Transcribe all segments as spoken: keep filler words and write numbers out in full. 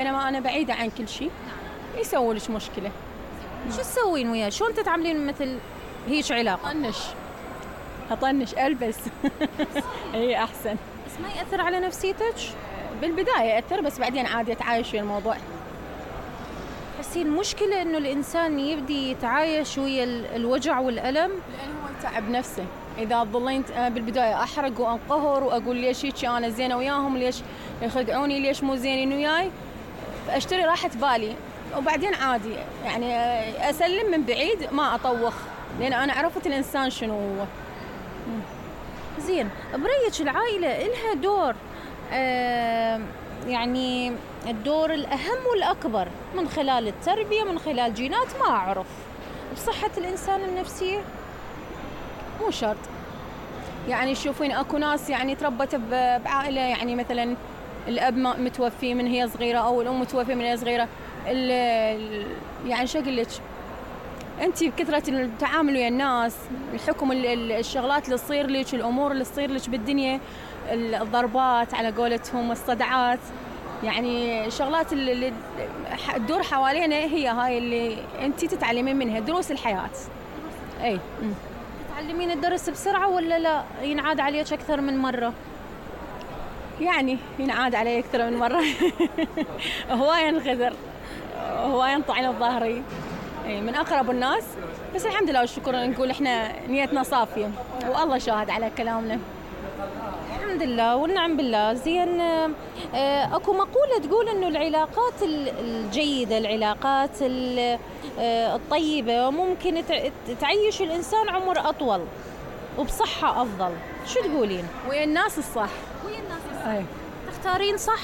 بينما أنا بعيدة عن كل شيء يسوي لك مشكلة. شو تسوين وياه؟ شلون تتعاملين مثل هيج علاقة؟ أطنش أطنش ألبس هي أحسن. بس ما يأثر على نفسيتك؟ بالبداية يأثر، بس بعدين عادي أتعايش ويا الموضوع. تحسين المشكلة إنه الإنسان يبدي يتعايش ويا الوجع والألم؟ لأن هو يتعب نفسه. إذا ظليت بالبداية أحرق وأنقهر وأقول ليش هيك أنا زينة وياهم، ليش يخدعوني، ليش مو زينين وياي، أشتري راحة بالي وبعدين عادي يعني أسلم من بعيد ما أطوخ، لأن أنا عرفت الإنسان شنو هو. زين، برأيك العائلة إلها دور آه يعني الدور الأهم والأكبر من خلال التربية، من خلال جينات ما أعرف، بصحة الإنسان النفسية؟ مو شرط. يعني شوفين أكو ناس يعني تربت بعائلة يعني مثلا الأب متوفي من هي صغيرة أو الأم متوفية من هي صغيرة، يعني شو أقول لك، أنت بكثرة التعامل ويا الناس، الحكم، الشغلات اللي تصير لك، الأمور اللي تصير لك بالدنيا، الضربات على قولتهم، الصدعات، يعني الشغلات اللي تدور حوالينا هي هاي اللي أنت تتعلمين منها دروس الحياة. أي تتعلمين الدرس بسرعة ولا لا ينعاد عليك أكثر من مرة؟ يعني ينعاد علي أكثر من مرة. هواية انخذر، هواية انطعن بظهري من أقرب الناس، بس الحمد لله والشكر نقول إحنا نيتنا صافية والله شاهد على كلامنا. الحمد لله والنعم بالله. زين، أكو مقولة تقول إنه العلاقات الجيدة، العلاقات الطيبة ممكن تعيش الإنسان عمر أطول وبصحة أفضل، شو تقولين؟ ويا الناس الصح. ويا الناس الصح. أي. تختارين صح؟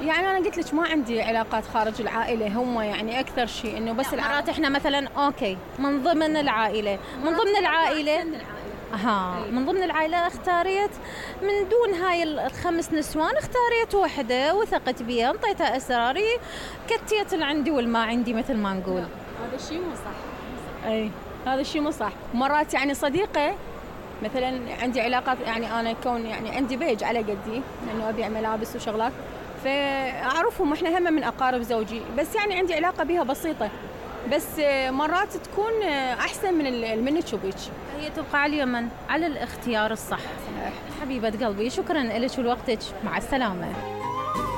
يعني أنا قلت لك ما عندي علاقات خارج العائلة، هم يعني أكثر شيء إنه بس العائلة. إحنا مثلا أوكي من ضمن العائلة، من ضمن العائلة ها من ضمن العائلة اختاريت من دون هاي الخمس نسوان، اختاريت واحدة وثقت بيها، انطيتها أسراري، كتيت اللي عندي والما عندي مثل ما نقول. هذا الشيء مو صح. أي هذا الشيء مو صح. مرات يعني صديقة مثلا عندي علاقات، يعني أنا كون يعني عندي بيج على قدي لأنه أبيع ملابس وشغلات، فأعرفهم إحنا هم من أقارب زوجي، بس يعني عندي علاقة بها بسيطة، بس مرات تكون أحسن من من تشوفيك. هي تبقى على اليمن على الاختيار الصح. حبيبة قلبي، شكرا لك ولوقتك، مع السلامة.